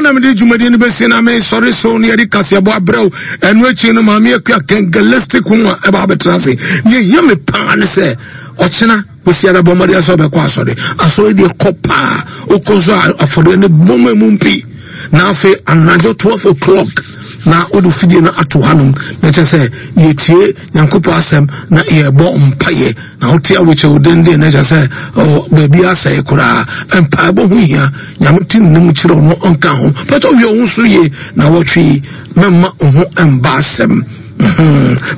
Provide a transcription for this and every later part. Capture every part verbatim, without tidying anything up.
na mede dwumadie no bɛsi na mesɔre so ne yɛde kaseɛbɔ abrɛ wo. Ɛno akyi no, Maame Akua Kengelistic ho a ɛba abɛtena ase. Deɛ ɛhia me paa ne sɛ ɔkyena Kwasiada bɔ mmɔden sɛ ɔbɛkɔ asɔre. Asɔre deɛ kɔ paa, wokɔ nso a afɔdeɛ no bɔ mu emu mpi. Na afei anadwo twelve o'clock na wode fidie no ato hanom na kyerɛ sɛ yɛtie Nyankopɔn asɛm na yɛbɔ mpaeɛ. Na wote awokyɛ wo denden na kyerɛ sɛ baabi asɛe koraa. Mpaebɔ ho hia. Nyame te ne mu kyerɛ no ɔnka ho. Pɛtɛ wohwɛ wo ho so yie na wɔtwe yi, mɛmma wo ho mba asɛm.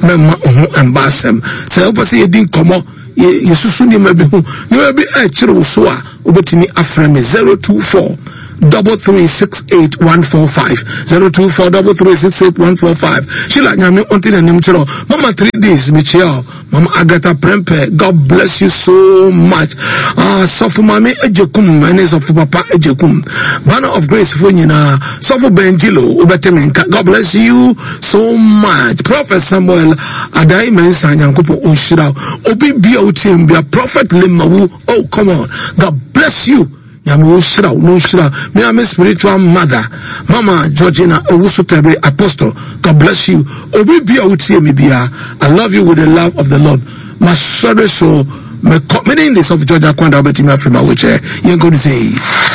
Mɛmma wo ho mba asɛm. Sɛ wopɛ sɛ yɛdi nkɔmmɔ, yɛsusu nneɛma bi ho, nneɛma bi ɛkyerɛ wo so a, wobɛtumi afrɛ me zero two four double three six eight one four five, zero two four double three six eight one four five. Sheila, Nyame ɔnte n'anim kyerɛ. Mama three days mekyia o. Mama Agatha Prempeh, God bless you so much. Ah, Sɔfo Mame Ejekum ɛne Sɔfo Papa Ejekum, Banner of Grace fo nyinaa, Sɔfo Benjilo wobɛte me nka. God bless you so much. Prophet Samuel Adai Mensah, Nyankopɔn ɔnhyira wo. Obi bia wotie mu bia, Prophet Limawu, oh come on, God bless you. Nyame wo hyira wo, no hyira me ame spiritual mother Mama Georgina Owusu Tebe Apostle, God bless you. Obi bia wotie me bia, I love you with the love of the Lord. Masɔre so me kɔ me ne of Georgia Kwanda wobɛtumi afiri ma wokyɛ yɛnkɔ no sɛ.